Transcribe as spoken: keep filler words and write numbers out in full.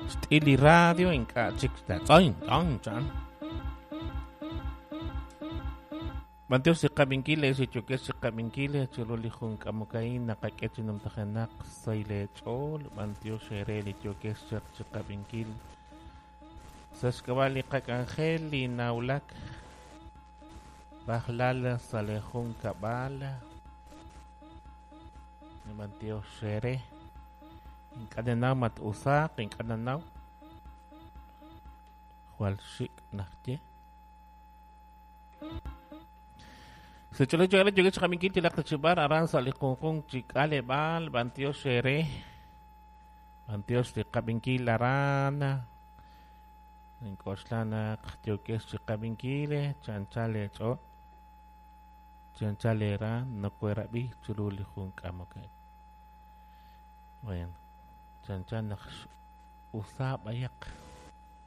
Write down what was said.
Xt'il li radio ink'a' chik tz'oin tz'oin chan. B'antiox li qab'inkil ex yo'kex chi qab'inkil chiru li jun k'amoka'in naqak'e chi numtajenaq sahil eech'ool. B'antiox eere li yo'kex chaq chi qab'inkil sa' xk'ab'a' li qak'anjel li nawulak rajlal sa' li jun kab'al. B'antiox eere ink'a' nanaw mat-usaaq ink'a' nanaw jwal xik' najye. Secholo yo yo'kex chi qab'inkil yalaq ta chi b'ar aran sa' li junjunq chi k'aleb'aal. B'antiox eere b'antiox li qab'inkil aran. Ink'oxla naq yo'kex chi qab'inkil chanchal eech'ool chanchal eera nokoerab'i chiru li jun k'amoka'in. Bueno, chanchan naq usa b'ayaq.